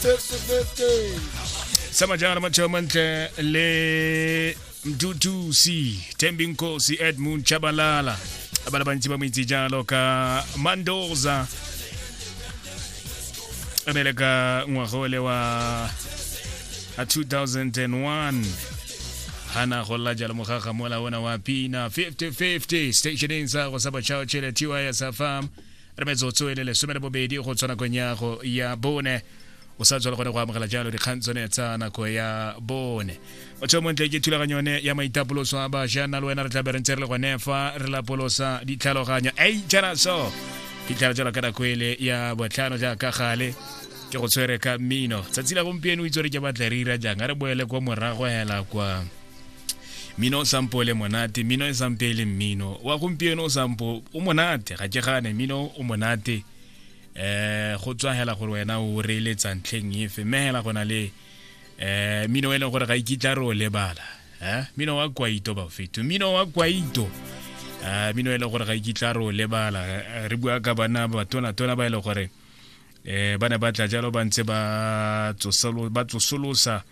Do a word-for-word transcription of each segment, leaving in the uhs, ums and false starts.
Fifty fifty. Sama jalo matšhao mantle le Mduduzi Thembinkosi Edmund Tshabalala, ba le bantsi ba mo itse jalo ka Mandoza, e ne le ka ngwaga ole wa a two thousand and one hana go lla jalo mogaga mola ona wa pina fifty fifty stationeng sa go sa batšhaotšhele T Y S F M. Re metsotso e le lesome le bobedi go tshwana nakong ya go ya bone. O sa tswela gone go amogela jalo dikgang tsone tsa nako ya bone. Motho o montle, ke thulaganyo yone ya maitapoloso a bašwa. Nna le wena re tla be re ntse re le gone fa re lapolosa ditlhaloganyo ei jana so fitlhela jalo ka nako ele ya botlhano. Jaaka gale ke go tshwere ka mmino tsatsi la gompieno, o itse gore ke batla re ira jang? A re boele kwa morago hela kwa mmino o sampo le monate, mmino e sampe e le mmino wa gompieno o sampo o monate. Ga ke gane mmino o monate, eh go tswa hela gore wena o reeletsa ntlheng efe, mme hela go na le eh mmino e leng gore ga ikitla re o lebala, eh mmino wa kwaito bafeto, mmino wa kwaito, eh mmino e leng gore ga ikitla re o lebala. Eh, re bua ka bana batona-tona ba e leng gore eh ba ne ba tla jalo ba ntse ba tsosolo ba tsosolosa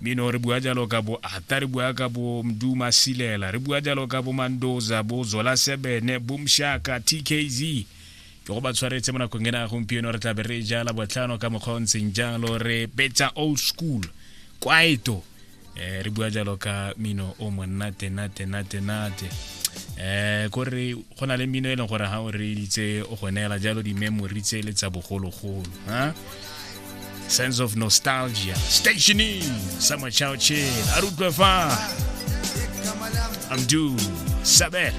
mmino. Re bua jalo ka bo Ata, re bua ka bo Mduma Silela, re bua jalo ka bo Mandoza, bo Zola Sebene, bo Mshaka T K Z. Ke go ba tshwaretse mo nakong ena ya gompieno. Re tla be re jala botlhano ka mokgwa o ntseng jalo, re betsa old school kwaito. eh re bua jalo ka mino o monate nate nate nate. eh kore go na le mmino e leng gore ha o reeditse o go neela jalo di-memory tse le tsa bogologolo, ha sense of nostalgia. Stationing sa Machao Chill, a re utlwe fa Amdu Sabel.